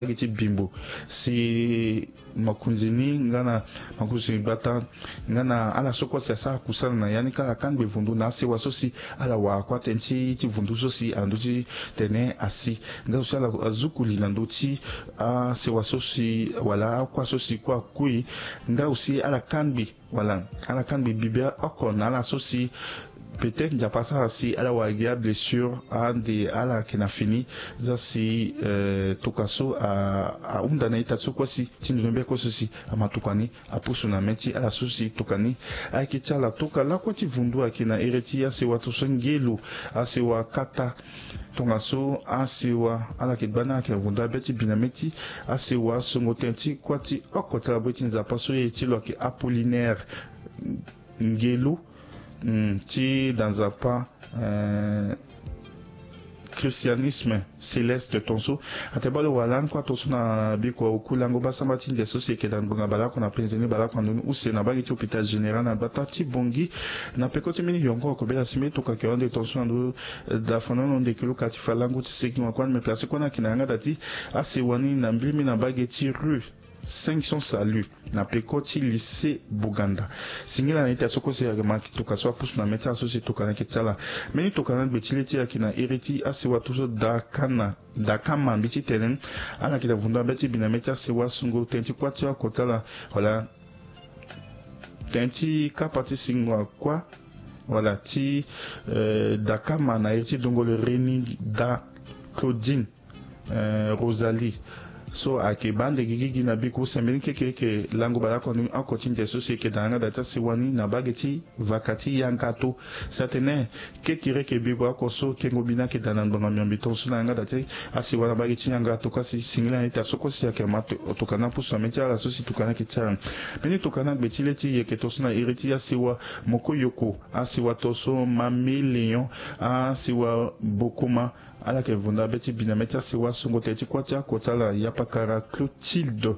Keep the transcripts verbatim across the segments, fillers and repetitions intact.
gi ti bimbo si makonzi ni nga na makonzi gbata nga na ala so kue si asara kusala na ya ni ka ala kangbe vundu na asewa so si ala wara kue atene ti ti vundu so si ando ti tene asi nga aussi ala azuku li na ndö ti asewa so si wala akua so si kue akui nga aussi ala kangbi wala ala kangbi bibe oko na ala so si peut-être nzapa asara si ala wara gi ablessure ande ala yeke na fini za si eh, toka so ahunda na ita so kue si ti ndono be kue so si ama toka ni apusu na mê ti ala so si toka ni ayeke ti ala toka lakue ti vundu ayeke na ere ti asewa to so ngelu asewa kata tongaso asewa ala yeke gba ni ayeke vundu abe ti bi na mê ti asewa songo tënë ti kuâ ti oko ti ala bue ti nzapa so ye ti lo ayeke apollinaire ngelu ti da nzapa christianisme céleste tonso ate bale wala ni kua tonso na biko oku lango basamba ti ndia so si eke da ngbonga baleoko na penze ni baleoko na ndoni use na bage ti hôpital général na gbata ti bongi na peko ti mbeni yongo kobela si mbeni toka ke wande tonso na ndo da fonono ndeke luka ti fa lango ti segi ma kua ni me place kua ni ake na yanga da ti asewa ni na mbili mbeni na bage ti rue cinq cents salut na peko ti lycée buganda singila na ita so kue si ayeke ma toka so apusu na mê ti ala so si toka na yeke ti ala mbeni toka na gbe ti le ti ayeke na iri ti asewa to so dakana dakama mbi ti tene ala yeke na vundu abe ti bi na mê ti asewa sungo tënë ti kuâ ti oko ti ala wala tënë ti kapa ti singo akua wala ti eh, dakama na iri ti dongolo reni da claudine eh, rosalie so ayeke baa nde gigigi na biko use mbeni kekereke lango baleoko ni oko ti ndia so si eke da yanga da ti asewa ni na bage ti vaka ti yanga to si atene kekereke biko oko so kengo bi ni ayeke da na ngbanga miombi tongaso na yanga da ti asewa na bage ti yanga to kasi singila na ita so kue si ayeke ma toka na apusu na mê ti ala so si toka ni ayeke ti ala mbeni toka na gbe ti le ti yeke tongaso na iri ti asewa moko yoko asewa tongaso mami léon asewa bokoma ala yeke vunda be ti bi na mê ti asewa songo tënë ti kuâ ti oko ti ala yapakara clotilde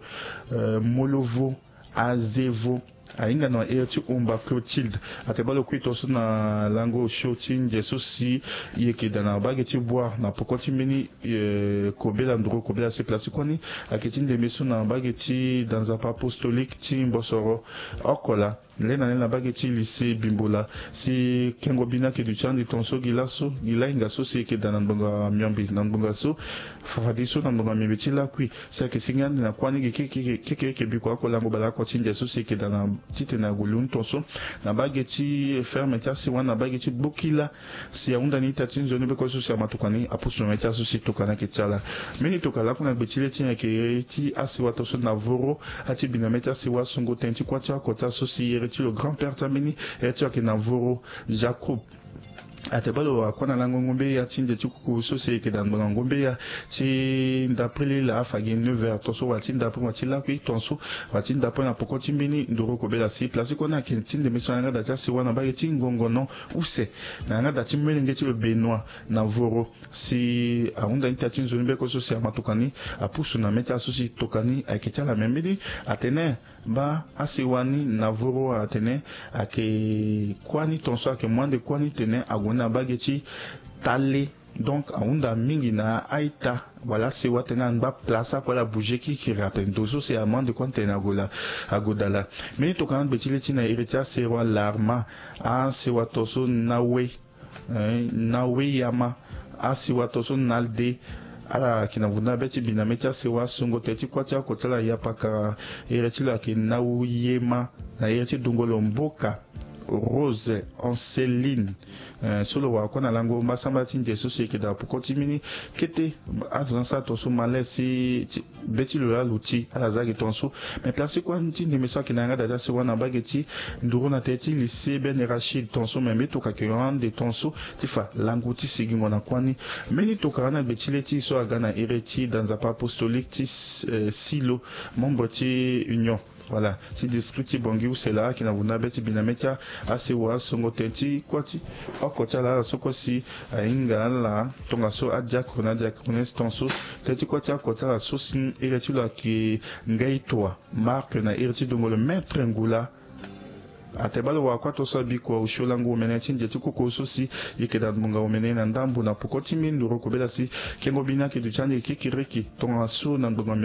eh, molovo azevo ahinga na ere ti omba clotilde ate bale okui tongaso na lango osio ti ndia so si e yeke da na bage ti boire na poko ti mbeni eh, kobela nduru kobela si place ti kue ni ayeke ti ndembe so na bage ti da nzapa apostolique ti mbosoro oko laa Lê na lê na bage ti lycée Bimbola si kengo bi ni ayeke duti ande tongaso gi laso gi lahinga so si e yeke daa na ngbonga miombe na ngbonga so fafadeso na ngbonga miombe ti lakui si ayeke sigi ande na kuâ ni gi keke keke keke biko ako lango baleoko ti ndia so si e yeke daa na titene ague lu ni tongaso na bage ti ferme ti asiwa ni na bage ti gbokila si ahunda ni ita ti nzoni beko so si amatuka ni apusu na mê ti aso si tokua ni ayeke ti ala. Mbeni tokua lakue na gbe ti lê ti nyen ayeke ti asiwa tongaso na voro ati bi na mê ti asiwa sungo tënë ti kuâ ti oko ti aso si ere ti lo grand père ti ambeni ere ti lo ayeke na voro jacob. Ate bale lo akua na lango ngombe ya ti nze ti kuku so si e yeke daa na ngbanga ngombe ya ti ndapre lila afa gi neuf heures tongaso wala ti ndapre wala ti lakui tongaso wala ti ndapre na poko ti mbeni nduru kobela si place ti kue ni ayeke ti ndembe so na yanga daa ti asiwa na mbage ti ngongono use na yanga daa ti molenge ti lo benoit na voro si ahunda ni ita ti nzoni beko so si amatuka ni apusu na mê ti aso si toka ni ayeke ti ala me mbeni atene baa asiwa ni na voro atene ayeke kuâ ni tongaso ayeke mu ande kuâ ni tene ague ni na mbage ti tale. Donc ahunda mingi na a-ita wala asiwa tene angba place akue ala bouger kirikiri ape ndo so si amu ande kuâ ni tene ague la ague daa la. Mbeni tokua na gbe ti lê ti na iri ti asiwa larma asiwa tongaso nawe na weyama asiwa tongaso na lde ala yeke na vundu na be ti bi na mê ti asiwa asungo tënë ti kuâ ti oko ti ala yapaka ere ti lo ayeke na weyema na ere ti dongolo mboka rose anceline so lo wara kue na lango mbasambala ti nze so si e yeke daa poko ti mbeni kete azo ni asara tongaso malê si be ti lo laa lo ti ala za gi tongaso. Me place ti kuâ ni ti ndembe so ayeke na yanga daa ti asiwa na mbage ti nduru na tënë ti lycée ben rachid tongaso me mbi tokua ayeke hon ande tongaso ti fa lango ti sigingo na kuâ ni. Mbeni tokua na gbe ti lê ti e so aga na iri ti da nzapa apostolique ti silo membre ti union wala ti district ti bongi use laa ayeke na vundu na be ti bi na mê ti asiwa asongo tënë ti kuâ ti oko ti ala ala so kue si ahinga ala tongaso adiacre na adiacre ni tongaso tënë ti kuâ ti oko ti ala so si iri ti lo ayeke ngai toa marc na iri ti dongolo maître ngula. Atebalo wa kuato so abikua osio lango omene ti ndia ti koko so si yeke na ngbonga omene na ndambo na poko ti mbi nduru kobela si kengo bini ake duti ande kikiriki tongaso na ngbonga